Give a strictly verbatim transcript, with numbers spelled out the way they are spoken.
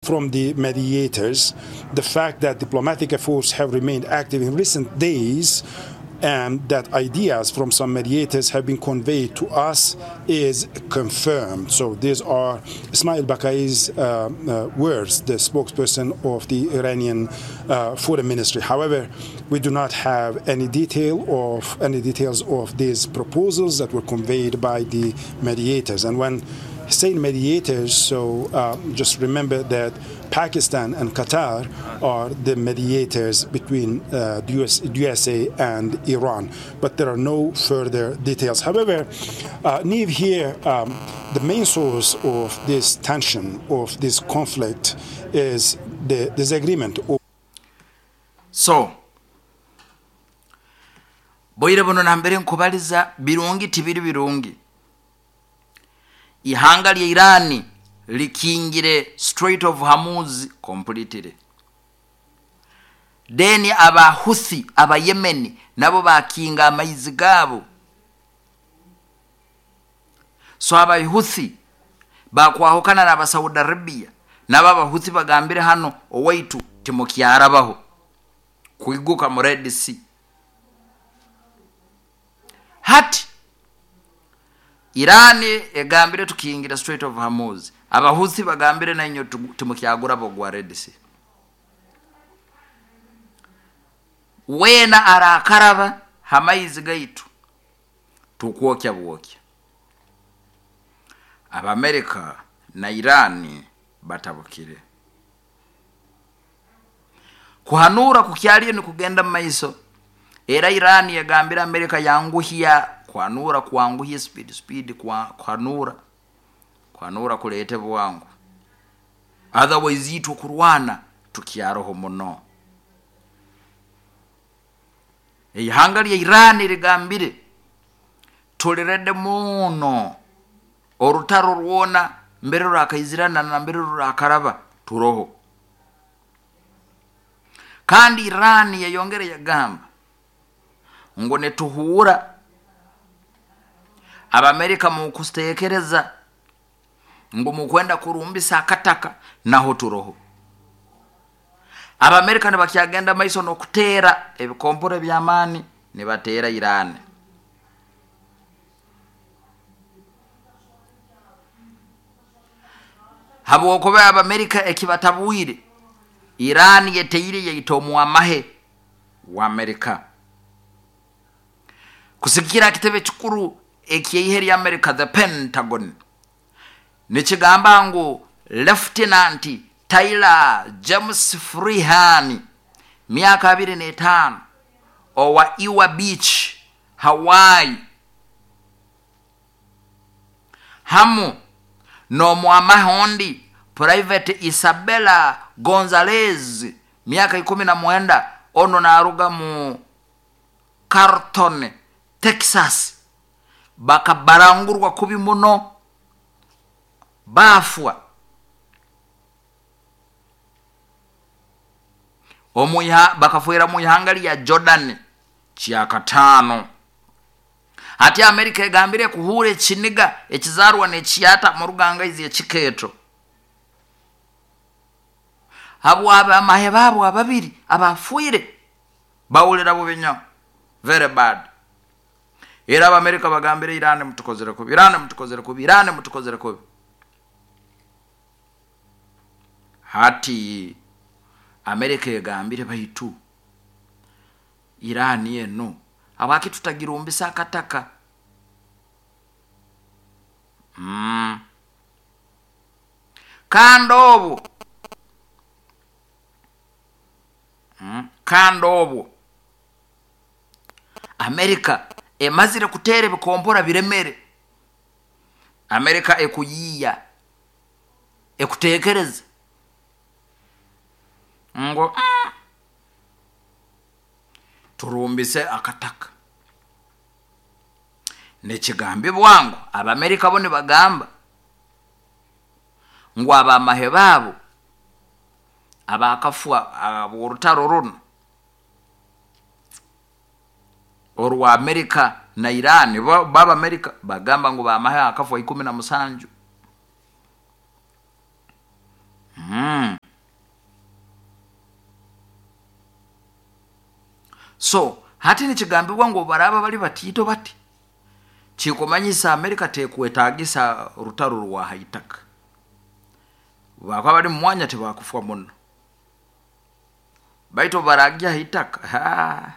From the mediators, the fact that diplomatic efforts have remained active in recent days and that ideas from some mediators have been conveyed to us is confirmed. So these are Esmaeil Baqaei's uh, uh, words, the spokesperson of the Iranian uh, Foreign Ministry. However, we do not have any detail of any details of these proposals that were conveyed by the mediators. And when saying mediators, so uh, just remember that Pakistan and Qatar are the mediators between uh, the U S, U S A and Iran, but there are no further details. However, uh, Niamh, here, um, the main source of this tension, of this conflict, is the disagreement. So, boire buno nambere nkubaliza birungi tibiri birungi. Ihanga lya Irani likingire Strait of Hormuz completely. Deni aba Houthi aba Yemen nabo bakinga amaizi gabo. So aba Houthi bakwahukana na Saudi Arabia nabo aba Houthi bagambire hano owaitu timukyarabaho kuiguka mu Red Sea. Hati Irani egambire tukingira Strait of Hormuz. Abahuthi bagambire na inyo timukyagura bogwa Red Sea. Wena arakaraba hamaizi gaitu tukwokya bwokya. Abamerika na Irani batabukire. Kuhanura kukyaliyo ni kugenda maiso. Era Irani yagambira Amerika yanguhia kuhanura kuanguhia speed speed kwa kuhanura kuhanura kulete bwangu. Otherwise itu kurwana tukiaroho muno. Ihanga lya Irani ligambire tulirede muno orutaro rwona mbere rwakaizirana na mbere rwakaraba turoho. Kandi Irani yayongere yagamba ngo netuhura Abamerika mu kustekereza ngo mukwenda kurumbisa akataka naho turoho. Abamerika nibakyagenda maiso no kutera ebikompore by'amaani nibatera Iran. Habwokuba Abamerika ekibatabwire Iran yeteire yaitomwa amahe wa Amerika. Kusikira kitebe kikuru ekyeihe lya America, the Pentagon, nikigamba ngu Lieutenant Tyler James Freehan miaka abiri n'etaano owa Ewa Beach, Hawaii, hamu n'omwamahe ondi Private Isabella Gonzalez miaka ikumi na mwenda ono naruga mu Carlton, Texas, bakabarangurwa kubi muno bafwa. Omuya bakafuira mu ihanga lya Jordan kyakatano. Ati Amerika egambire kuhure ekiniga ekizarwa n'ekiyata mu ruganga izi ekikeeto. Habwa abamahe babo ababiri abafuire bawulira bubi nnyo, very bad. Era Abamerika bagambire Iran mutukozere kubi, Iran mutukozere kubi, Iran mutukozere kubi. Hati Amerika egambire baitu Iran eno abaki tutagirumbisa akataka. Mm. Kandi obwo mm. Kandi obwo Amerika emazire kutere bikompora biremere. Amerika ekuyiya ekutekereza ngo mm, turumbise akataka. Nekigambe bwangu Abamerika bo nibagamba ngo abamahe babo abakafwa aborutaro runo orwa Amerika na Iran, baba Amerika bagamba ngo bamahe akafwa ikumi na musanju. Mm. So hati nikigambibwa ngu baraba bali batiito bati, kikumanyisa Amerika tekwetagisa rutaro rwa haitaka, bakaba bali mumwanya tebakufwa muno, baitu baragya haitaka. Ha.